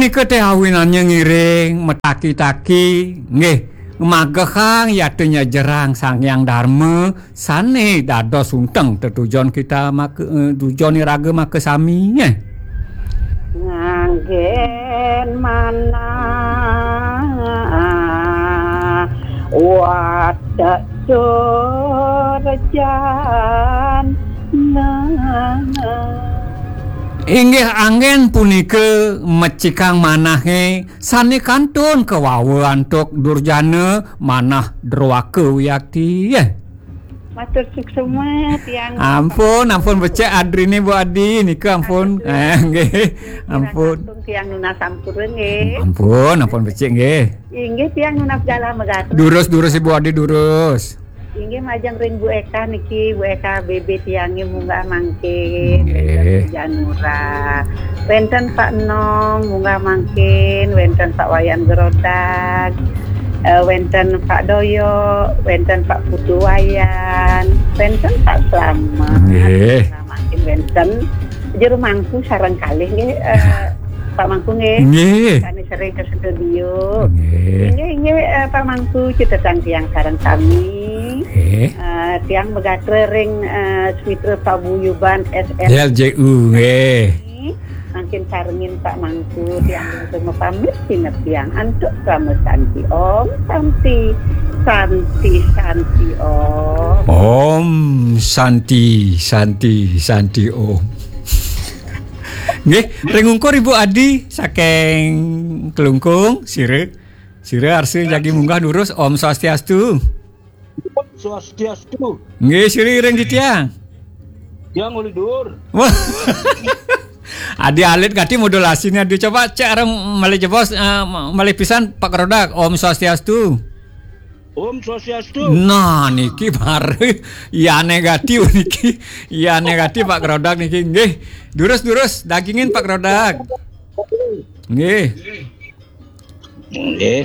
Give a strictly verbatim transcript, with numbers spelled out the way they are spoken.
Nika teh awinannya ngiring, mataki-taki, nggih, magehang yata nyejerang Sang Hyang Darma, sane dados unteng tetujon kita maka, eh, tujon iraga makasami, eh. Nganggen manah watek turjan. Inggih anggen punika mecikang manahe sane kantun kawawa antuk durjana manah druaka wiakti. Matur suksema tiang. Ampun, ampun becik adrine Bu Adi nika ampun. Ampun. Eh, nggih. Ampun. Langkung tiang nunas sampura nggih. Ampun, ampun becik nggih. Inggih tiang nunas galah megatur. Durus-durus Ibu Adi durus. Inggih majeng ring Bu Eka niki, Bu Eka B B tiange munggah mangkin. Nggih. Janura. Wenten Pak Nom munggah mangkin, wenten Pak Wayan Gerodag, eh, wenten Pak Doyo, wenten Pak Putu Wayan, wenten Pak Slamet. Nggih. Munggah mangkin wenten Jero Mangku sareng kalih nggih, eh, Pak Mangku nggih. Nggih. Sane sering ke studio. Nggih. Inggih, inggih, eh, Pak Mangku, cutetang tiang sareng sami. Nggih. Eh, tiang megatra ring, eh, Smitra Paguyuban S R L J U, nggih. Mangkin sarengin Pak Mangku, tiang bungsu mapamit sineb tiang antuk krama santi. Om Santi, Santi, Santi Om. Om Santi, Santi, Santi Om. Nggih, ring ungkur Ibu Adi saking Klungkung, sira. Sira arsa jagi munggah durus, Om Swastiastu. Swastiastu. Nggih, sira ring titiang. Yang uli dur. Wah. Adi alit gati modulasine, adi coba cek areng malih jebos, eh, malih pisan Pak Rodak, Om Swastiastu. Om Swastiastu. Nah, niki baru iyane gati niki. Iyane gati Pak Rodak niki. Nggih. Durus-durus dagingin Pak Rodak. Nggih. Nggih.